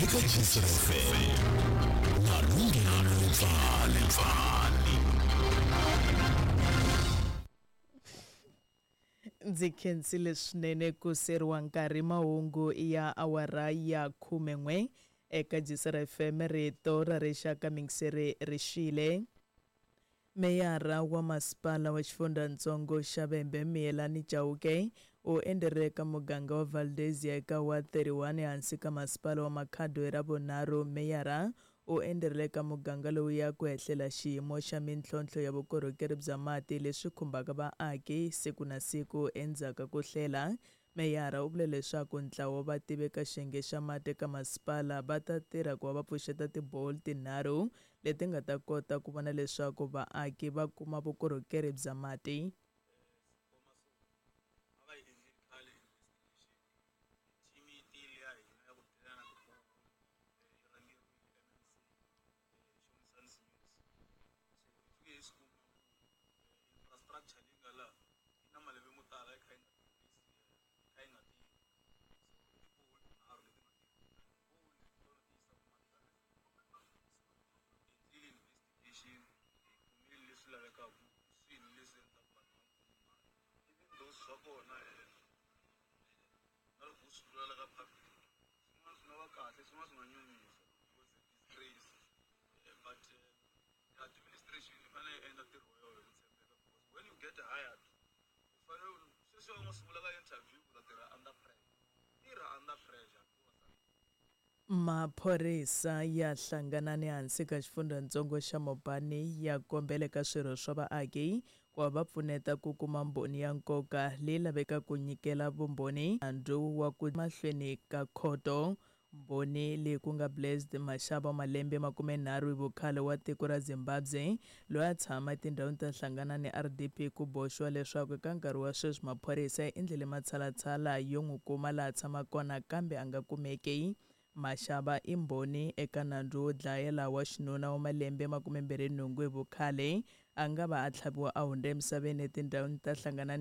Eka Jisr FM na Lunghelo Lepfani. Ndzi khensile swinene ku seriwa nkarhi mahungu ya awara ya 11 eka Jisr FM rito ra rixaka mingiseri rixile. Meyara wa masipala wa xifundzhantsongo xa Vhembe Miyelani Chauke u endzerile eka muganga wa Valdezia eka Ward 31 ehansi ka masipala wa Makhado hi Ravunharhu. Meyara u endzerile eka muganga lowu ya ku hehlela xiyimo xa mintlhontlho ya vukorhokeri bya mati leswi khumbaka vaaki siku na siku. Endzhaku ka ku hlela, meyara u vule leswaku ntlawa wa vativi eka xiyenge xa mati eka masipala va ta tirha ku va va pfuxeta tiboholi tinharhu leti nga ta kota ku vona leswaku vaaki va kuma vukorhokeri bya mati. Maphorisa ya hlangana ni hansi ka xifundzhantsongo xa Mopani ya kombela eka swirho swa vaaki ku va va pfuneta ku kuma mbhoni ya nkoka leyi lavekaka ku nyikela vumbhoni nandzu wa ku mahlweni ka khoto. Mbhoni leyi ku nga Blessed Mashaba wa malembe 30 hi vukhale wa tiko ra Zimbabwe loyi a tshama etindhawini ta hlangana ni RDP ku boxiwa leswaku eka nkarhi wa sweswi maphorisa ya endlile matshalatshala yo n'wi kuma laha tshamaka kona kambe a nga kumeki. Mashaba i mbhoni eka nandzu wo dlayela wa xinuna wa malembe 28 hi vukhale a nga va a tlhaviwa a hundza emisaveni etindhawini ta hlangana ni.